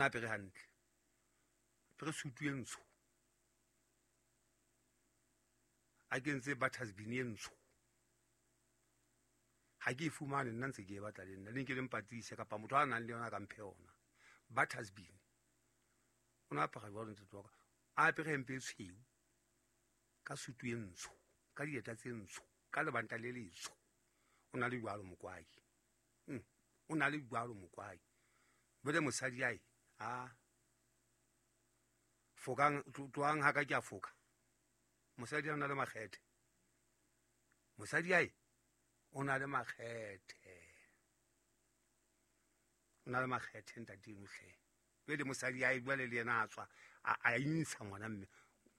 Apere hantle, apere sutu e ntsho, a kentse buttersbin e ntsho. Ha ke e fumane nna ntse ke e batla le nna le nke le mpatlise kapa motho a nang le yona ka mphe yona. Buttersbin o ne apara jwalo ntate wa ka, a apere hempe e tshweu ka sutu e ntsho ka dieta tse ntsho ka lebanta le letsho. O na le jwalo mokwai, o na le jwalo mokwai. Bole mosadi ae a fokang tloang ha ka ke a foka. Mosadi o na le makgethe, mosadi ae o na le makgethe, o na le makgethe ntate eno hle. Jwale mosadi ae jwale le yena a tswa a intsha ngwana mme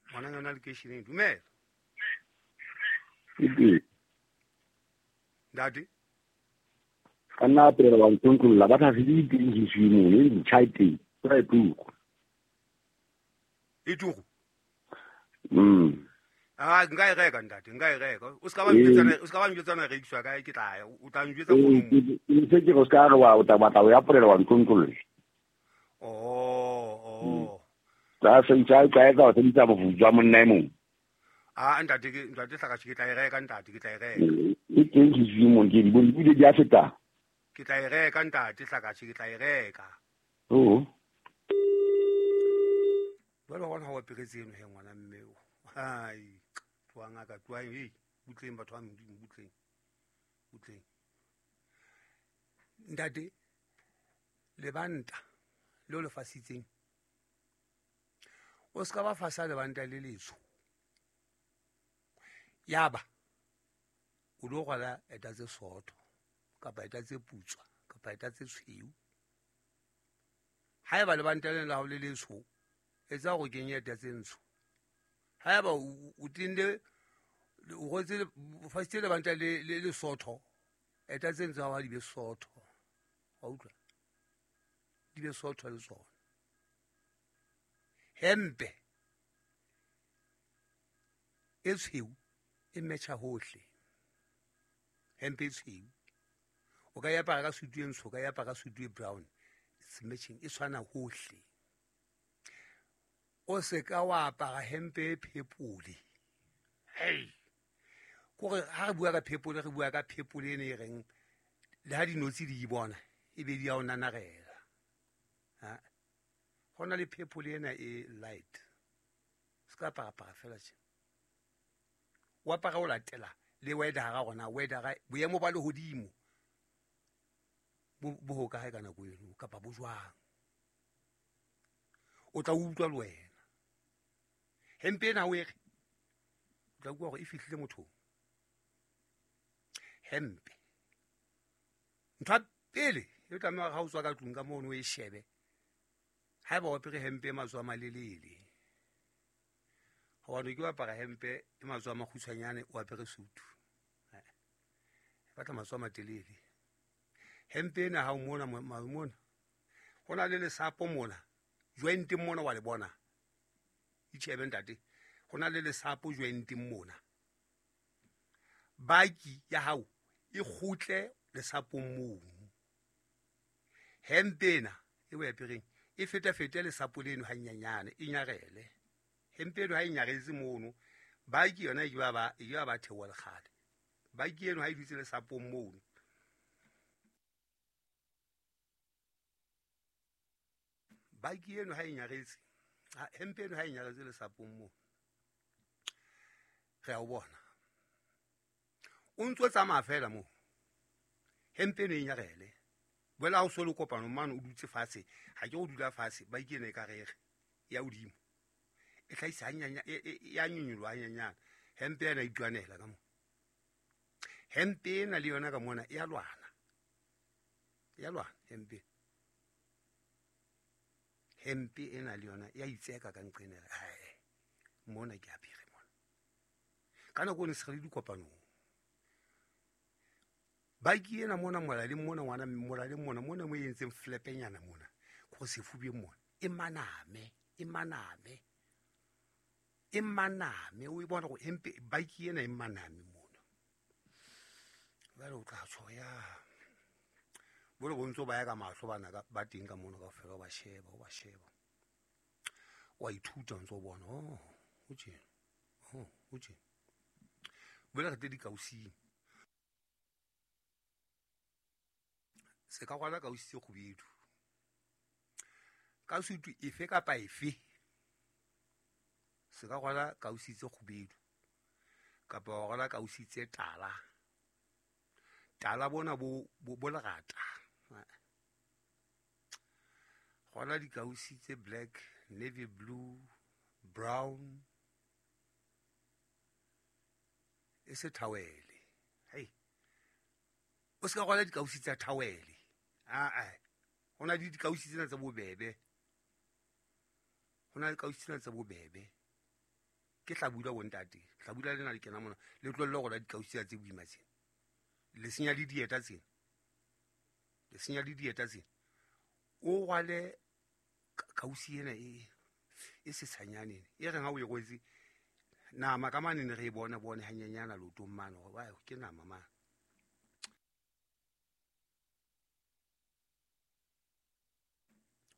ngwana yona lekeisheneng. Dumela ntate. Ka nna pele wa ntontlolla ba tla se di teng ke swimo e ntšha teng ka e tuku e tuku. Ah, nka e reka ntate, nka e reka. O ska ba njwetsana, o ska ba njwetsana rekiswa kae, ke tla ya o tla njwetsa founung. Ke se ke go ska re wa o tla batla o ya polela wa ntontlolla. Oh. Tsa se ntsa ka e ka o ntsa bofutsa monna e mong. Ah, ntate ke ntate hlaka ke tla e reka ntate, ke tla e reka. E teng ke swimo ke di bone di di a feta. Ke tla e reka ntate hlaka ke tla e reka. Oh. Jwale wa bona ha o aperetse eno he ngwana mme o. Hai, tloang ngaka, tloang, hey, butleng batho ba Modimo, butleng. Butleng. Ntate, lebanta leo le fasitseng. O ska ba fasa lebanta le letsho. Yaba o lo rwala eta tse sootho kapa eta tse putswa kapa eta tse tshweu. Haeba lebanta lena la hao le letsho, etsa hore o kenye eta tse ntsho. Haeba o tende o rwetse fasitse lebanta le le sootho, eta tse ntsho ha di be sootho. Wa utlwa? Di be sootho le tsona. Hempe e tshweu e metjha hohle. Hempe e tshweu o ka e apara ka sutu e ntsho, o ka e apara ka sutu e brown, it's matching, e tshwana hohle. O se ka wa apara hempe e phepole. Hey, kore ha re bua ka phepole, re bua ka phepole ene e reng le ha dinotshi di e bona e be di ya o nanarela. Ha ho na le phepole ena e light, se ka apara fela tje. O apara o latela le weather rona, weather boemo ba lehodimo bo ho kae ka nako eno kapa bo jwang. O tla utlwa le wena. Hempe ena o e re, o tla utlwa hore e fihlile mothong. Hempe. Ntho ya pele e tlameha hore ha o tswa ka tlung ka mono o e shebe. Haeba o apere hempe e matsoho a malelele, hobane ke o apara hempe e matsoho a makgutshwanyane, o apere sutu. E batla matsoho a matelele. Hempe ena ha o mona, mona. Ho na le lesapo mona. Jointeng mona wa le bona. Itjhebe ntate. Ho na le lesapo jointeng mona. Baki ya hao e kgutle lesapong mono. Hempe ena e o apereng e fetafete lesapo leno hanyenyane, e nyarele. Hempe eno ha e nyaretse mono, baki yona e ke ba theoha lekgale. Baki eno ha e dutse lesapong mono. Baki eno ha e nyaretse, hempe eno ha e nyaretse lesapong mono. Re a o bona. O ntso tsamaya fela moo. Hempe eno e nyarele. Boela ha o so le kopano mane o dutse fatshe, ha ke o dula fatshe, baki ena e ka rere ya hodimo. E hlahisa hanyanya, e a nyonyoloha hanyenyane. Hempe ena e itwanela ka moo. Hempe ena le yona ka mona e a lwana. E a lwana hempe. Hempe ena le yona e a itseka ka nqena. Hai, mona ke apere mona. Ka nako eno se re le dikopanong. Baki ena mona molaleng mona ngwana molaleng mona mona mo e entseng flepenyana mona go sefubeng mona e maname, e maname, e maname. O e bona go hempe baki ena e maname mona. Jwale o tla tsho ya Bolo bo ntso ba ya ka mahlo bana ba teng ka mono kaofela, o ba sheba, o ba sheba. Wa ithuta o ntso bona, oh, o tjena, oh, o tjena. Boela re tle dikausing. Se ka rwala kausi tse kgubedu. Ka sutu efe kapa efe, se ka rwala kausi tse kgubedu kapa wa rwala kausi tse tala. Tala bona bo lerata. Rwala dikausi tse black, navy blue, brown, e se thawele. Hei, o se ka rwala dikausi tsa thawele. Aa, ho na le dikausi tsena tse bobebe. Ho na le dikausi tsena tse bobebe. Ke hlabula bontate, hlabula lena le kena mona, le tlohelle ho rwala dikausi tsena tse boima tsena. Le senya le dieta tsena. Le senya le dieta tsena. O rwale kausi ena e sesanyane ena. E reng ha o e rwetse, nama ka mane ne re e bone bone hanyenyana leotong mane, hore wa, ke nama mane.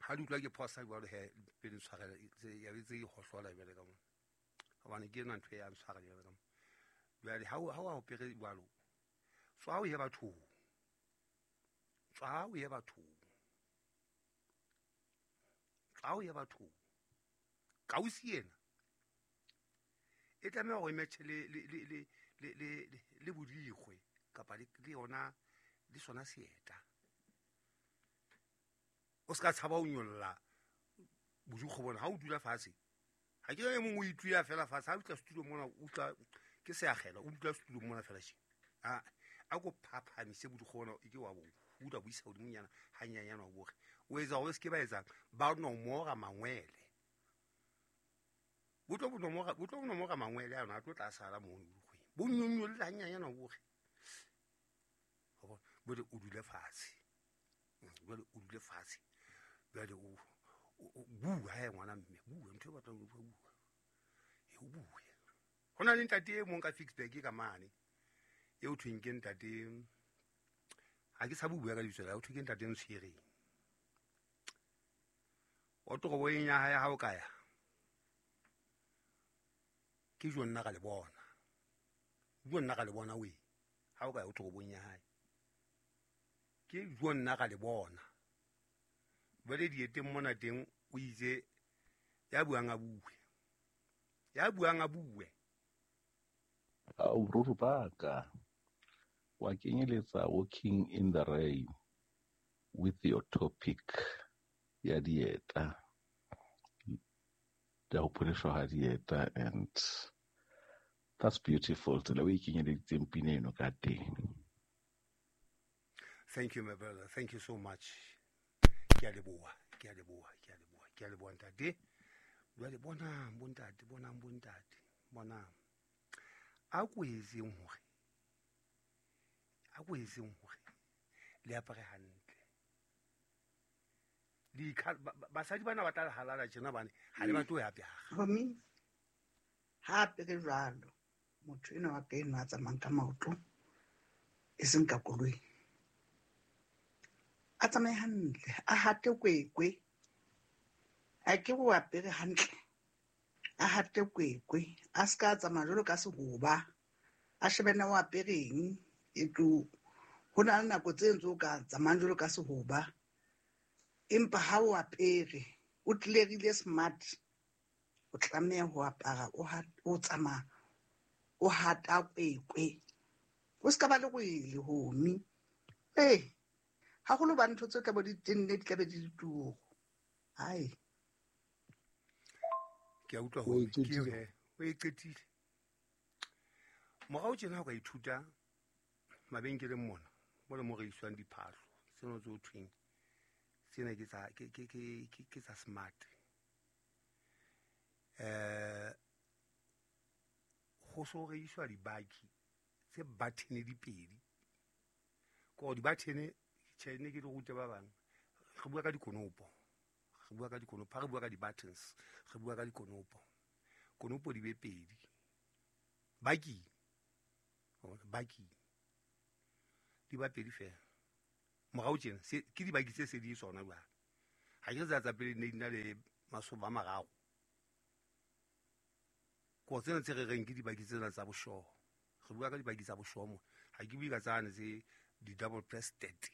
Ha di utlwa ke phosa jwalo he, pele ntshwarela, ya be tse e hohlola jwale ka mona. Hobane ke ena ntho e ya ntshwara jwale ka mona. Jwale ha o apere jwalo, tswa o ye bathong. Tswa o ye bathong. Tswa o ye bathong. Kausi ena e tlameha hore e matche le bodikgwe kapa le yona, le sona seeta. O ska tshaba ho nyolla bodikgwe bona ha o dula fatshe. Ha ke e mong o ituya fela fatshe, ha o tla setulong mona, o tla ke seakgela, o dula setulong mona fela tje. A ko phaphamise bodikgwe bona, e ke wa bo hula bo isa hodimonyana, hanyenyana o boge. O etsa hore o se ke ba etsang, ba nomora mangwele. Bo tlo bo nomora, bo tlo bo nomora mangwele ano, a tlo tla sala mono bodikgweng. Bo nyonyolle hanyenyana o boge. Wa bona? Jwale o dule fatshe. Jwale o dule fatshe. Jwale o bua he ngwana mme, bua ntho e batlang ho bua, bua. E o bue. Ho na le ntate e mong ka Ficksburg ka mane, eo thweng ke ntate, ha ke tshabe ho bua ka lebitso la hae, ho thwe ke ntate Ntshwereng. Wa toropo eng ya hae ha o ka ya? Ke jo nna ka le bona. Jo nna ka le bona we. Ha o ka ya o toropong ya hae. Ke jo nna ka le bona. Jwale dieteng mona teng o itse ya buang a bue. Ya buang a bue. Au, ruri ba ka. Wa kenyeletsa walking in the rain with your topic ya dieta. Ya ho pholeshwa ha dieta, and that's beautiful. Tsela o e kenyeleditseng pina eno ka teng. Thank you, my brother. Thank you so much. Ke a leboha, ke a leboha, ke a leboha, ke a leboha ntate. Jwale bonang bontate, bonang bontate, bonang. A ko etseng hore, a ko etseng hore le apare hantle. Basadi bana ba tla le halala tjena bane, ha le batle ho ya apara. Homi, ha apere jwalo, motho enwa wa ka enwa a tsamayang ka maoto, e seng ka koloi. A tsamaye hantle, a hate kwekwe. A ke o apere hantle, a hate kwekwe, a se ka tsamaya jwalo ka sehoba, a shebe na o apereng, e tlo ho na le nako tse ntse o ka tsamayang jwalo ka sehoba. Empa ha o apere, o tlerile smart, o tlameha ho apara, o tsamaya, o hata kwekwe. O se ka ba le rwele, homi. Haholo ba ntho tse tla bo di tenne, di tla be di le turu. Hai. Ke a utlwa O hore e qetile. ke he, o e qetile. Morao tjena ha o ka ithuta mabenkeleng mona, mo le mo rekiswang diphahlo, tseno tse ho thweng, tsena ke tsa, ke, ke, ke, ke, ke tsa smart. Ho so rekiswa dibaki tse button di pedi. Ke hore di-button, tjhe, ne ke di rute ba bang. Re bua ka dikonopo. Re bua ka dikonopo. Ha re bua ka di-buttons, re bua ka dikonopo. Konopo di be pedi. Baki. Wa bona, baki. Di ba pedi fela. Morao tjena ke dibaki tse se di sona jwale. Ha ke tsa tsa pele ne di na le masoba a mararo. Ko tsena tse re reng ke dibaki tsena tsa boshoho. Re bua ka dibaki tsa boshoho mo. Ha ke bue ka tsane tse di double breasted.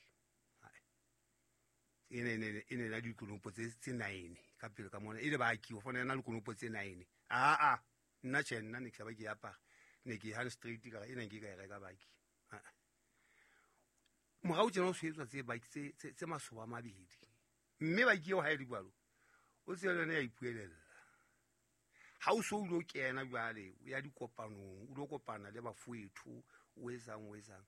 E ne na dikonopo tse 9 ka pele ka mona. E le baki o fona na le konopo tse 9. A nna tjhe nna ne ke ba ke apara. Ne ke hand straight ka ena ke ka e reka baki. Morao tjena o swetswa tse baki tse masoba a mabedi. Mme baki eo ha e le jwalo o tsela yona ya ipuelella. Ha o so o lo kena jwale o ya dikopanong, o lo kopana le bafoetho, o etsang.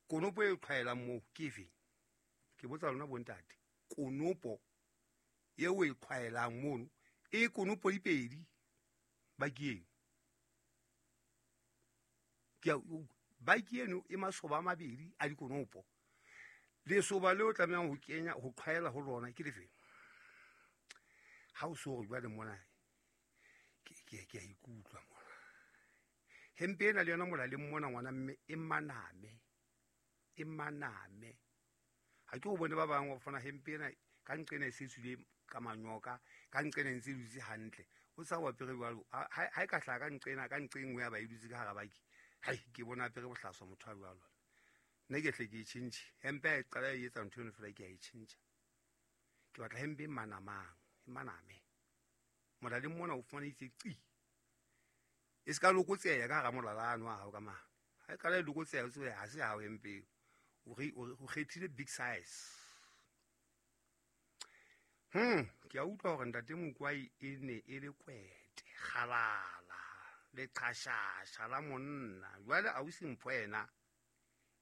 Konopo e qhwaelang moo ke efe? Ke botsa lona bontate. Konopo eo e qhwaelang mono e konopo dipedi baki eno. Ke baki eno e masoba a mabedi a dikonopo. Lesoba leo tlamehang ho kenya ho qhwaela ho lona ke lefe? Ha o so re jwale mona ke a ikutlwa mona. Hempe ena le yona molaleng mona ngwana mme e maname. E maname. Ha ke o bone ba bang wa fana hempe ena ka nqena e se tswile ka manyoka, ka nqena ntse dutse hantle. O sa wa pere jwalo ha e ka hlaha ka nqena ka nqengwe ya ba e dutse ka hara baki. Hai ke bona pere bohlaswa motho a jwalo. Nna ke hle ke e tjhentjhe. Hempe e qala e etsa ntho eno fela ke a e tjhentjha. Ke batla hempe e manamang, e maname. Molaleng mona o fumana itse qi. E se ka lokotseha ka hara molala ano a hao ka mane. Ha e qala e lokotseha o tsebe ha se hao hempe. O kgethile big size. Ke a utlwa hore ntate Mokwai e ne e le kwete, kgalala, le qhashasha la monna. Jwale ausi Mpho yena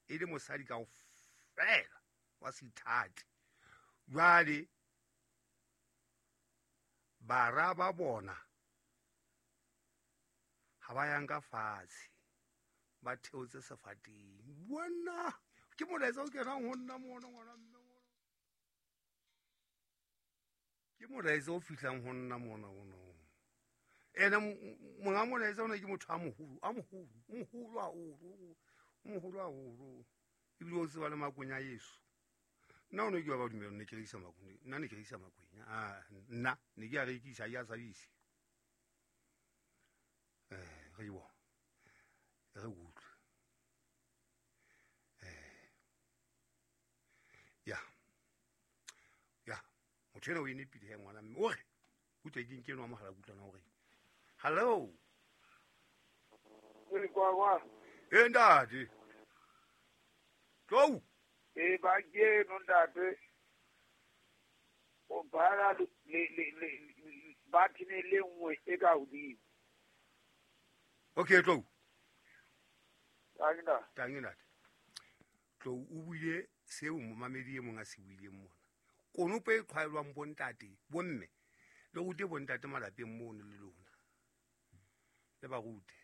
e le mosadi kaofela wa seithati. Jwale bara ba bona ha ba yang ka fatshe, ba theotse sefateng. Bona ke molaetsa o kenang ho nna mona ngwana mme. Ke molaetsa o fihlang ho nna mona ona. Ena monga molaetsa ona ke motho a moholo, a moholo, moholo haholo, moholo haholo. Ebile o tseba le makwenya Yesu. Nna o ne ke wa ba dumela ne ke rekisa makwenya. Nna ne ke rekisa makwenya. Ah, nna ne ke a rekisa ya sabise. Re bo. Re utlwe. Ya. Ya. Motho ena o e nepile he ngwana mme. O re utlwe ke nke enwa mohala kutlwana o re. Hello. Re kwa kwa. E ntate. Tlou. E ba ke no ntate. O bala le ba tine le nngwe e ka hodimo. Okay, Tlou. Tangina. Tangina. Tlou o buile seo momamedi e mong a se buileng mona. Konopo e qhwaelwang bontate, bomme, le rute bontate malapeng mono le lona. Le ba rute.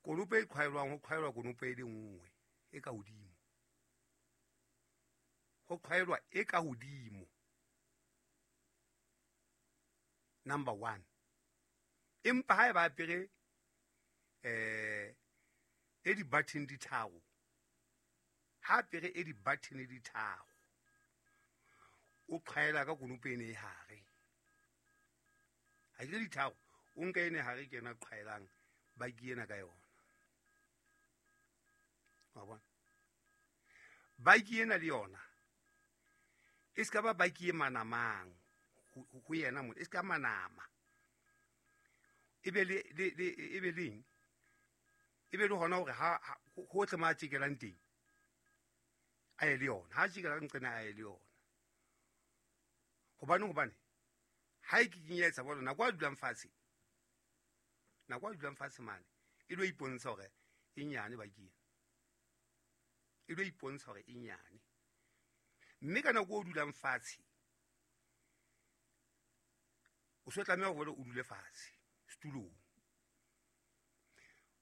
Konopo e qhwaelwang ho qhwaelwa konopo e le nngwe e ka hodimo. Ho qhwaelwa e ka hodimo. Number 1. Empa ha e ba apere e di button di tharo. Ha apere e di button di tharo. O qhaela ka konopo ene e hare. Ha ke di tharo, o nka ene hare ke yena qhaelang baki ena ka yona. Wa bona? Baki ena le yona e ska ba baki e manamang ho yena mona, e ska manama. E be le e be leng? E be le hona hore ha ho tle ma tjekelang teng. A ye le yona. Ha tjekela nqena a ye le yona. Hobane ha e ke kenyetsa bona nako a dulang fatshe. Nako a dulang fatshe mane e lo ipontsha hore e nyane baki. E lo ipontsha hore e nyane. Mme ka nako o dulang fatshe o so tlameha hore o dule fatshe setulong.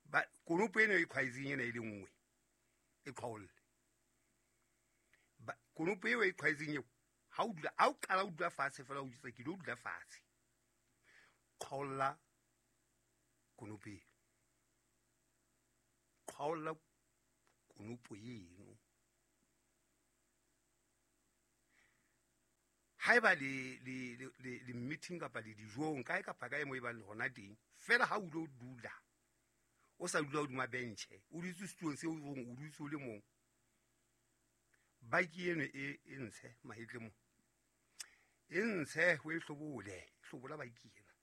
Ba konopo eno e qhwaetseng ena e le nngwe e qhaolle. Ba konopo eo e qhwaetseng eo ha o dula, ha o qala o dula fatshe fela o jwetsa ke lo dula fatshe. Qhaolla konopo eo. Qhaolla konopo eno. Haeba le meeting kapa le dijong kae kapa kae mo e bang le hona teng, fela ha o lo dula o sa dula hodima benche, o dutse setulong seo o dutse o le mong, baki eno e ntshe mahetle mo, e ntshe o e hlobole, hlobola baki ena,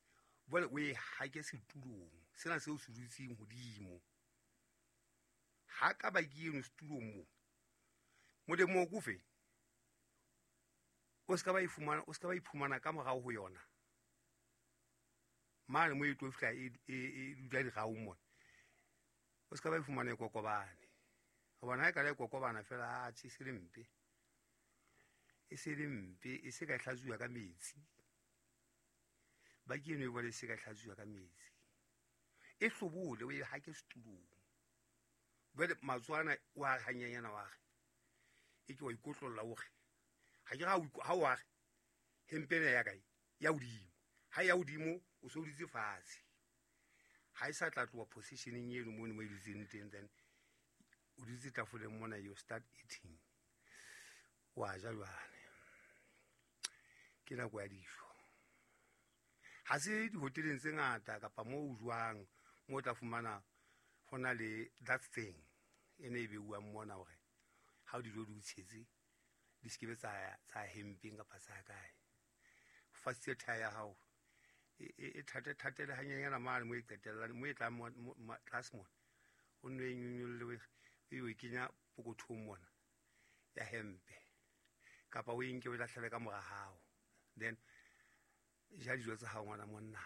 jwale o e hake setulong sena seo se dutseng hodimo. Ha ka baki eno setulong mo, molemo o kofe o ska ba ifumana, o ska ba iphumana ka morao ho yona mane mo e tlo fihla e dula diraong mona, o ska ba ifumana e kokobane. Hobane ha e ka la e kokobana fela, atjhe, e se le mpe, e se le mpe, e se ka e hlatsuwa ka metsi. Baki eno e bole e se ka e hlatsuwa ka metsi, e hlobole o e hake setulong. Jwale matswana o a re hanyanyana, wa re e ke wa ikotlolla, o re ha ke ha o a re hempe ena ya kae ya hodimo, ha ya hodimo o so dutse fatshe, ha e sa tla tloha positioneng eno mono mo e dutseng teng, then o dutse tafoleng mona, you start eating, wa ja jwale. Ke nako ya dijo. Ha se dihoteleng tse ngata kapa moo o jwang mo o tla fumana ho na le that thing e ne e beuwang mona hore ha o dijo di o tshetse di se kebe tsa hempeng kapa tsa kae. Fasitse thae ya hao e thate thatele hanyenyana mane mo e qetellang, mo e tlang tlase mona, o nno e nyonyolle, e o e kenya pokothong mona ya hempe, kapa o e nke o e lahlele ka mora hao. Then ja dijo tsa hao ngwana monna,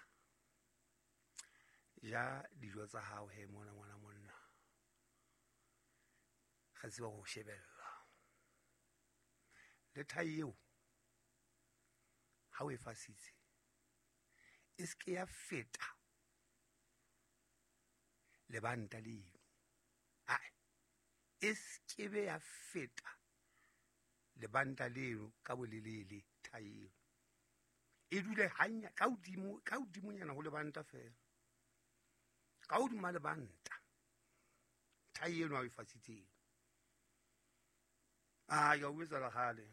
ja dijo tsa hao he mona ngwana monna, re tseba ho shebella. Le thai eo ha o e fasitse e se ke ya feta lebanta leno, ae e se ke be ya feta lebanta leno ka bolelele. Thai eo e dule hanya ka hodimo, ka hodimonyana ho lebanta fela, ka hodima lebanta thai eno ha o e fasitseng. Ah, ya o etsa la kgale.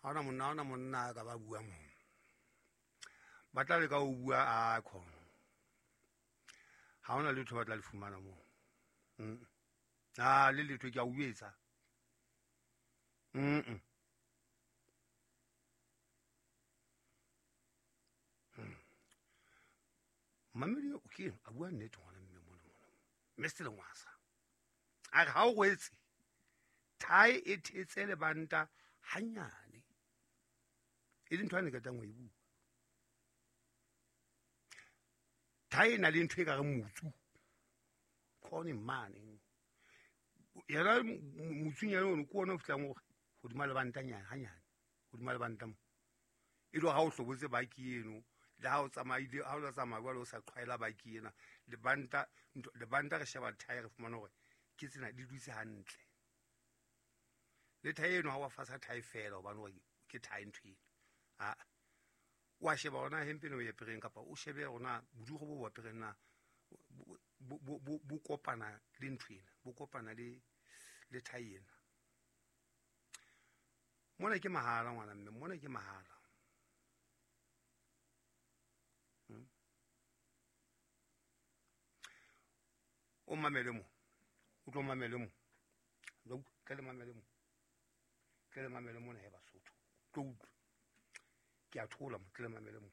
Ha ona monna, ha ona monna a ka ba bua moo. Ba tla leka ho bua, a khona. Ha ona letho ba tla le fumana moo. Ah, le letho ke a o etsa. Mamedi o ke a bua nnete ngwana mme mona mona. Mr. Lengwasa. A re ha o rwetse thai e thetse lebanta hanyane, e le ntho a ne qetang ho e bua. Thai e na le ntho e ka re motsu khone mane, yena motsunyana ono ke ona o fihlang hore hodima lebantanyana hanyane, hodima lebanta mo, e le ha o hlobotse baki eno, le ha o tsamaile, ha o tsamaya jwale o sa qhwaela baki ena lebanta, lebanta re sheba thai re fumana hore ke tsena di dutse hantle. Le thai eno ha wa fasa thai fela hobane hore ke thai ntho ena, a wa sheba hona hempe eno o apereng, kapa o shebe hona bodugo bo bo apereng na bo kopana le ntho ena, bo kopana le thai ena. Mona ke mahala ngwana mme, mona ke mahala. O mamele mo, o tlo mamele mo, tle le mamele mo, tle le mamele mona he Basotho, tlo utlwa ke a thola mo, tle le mamele mo.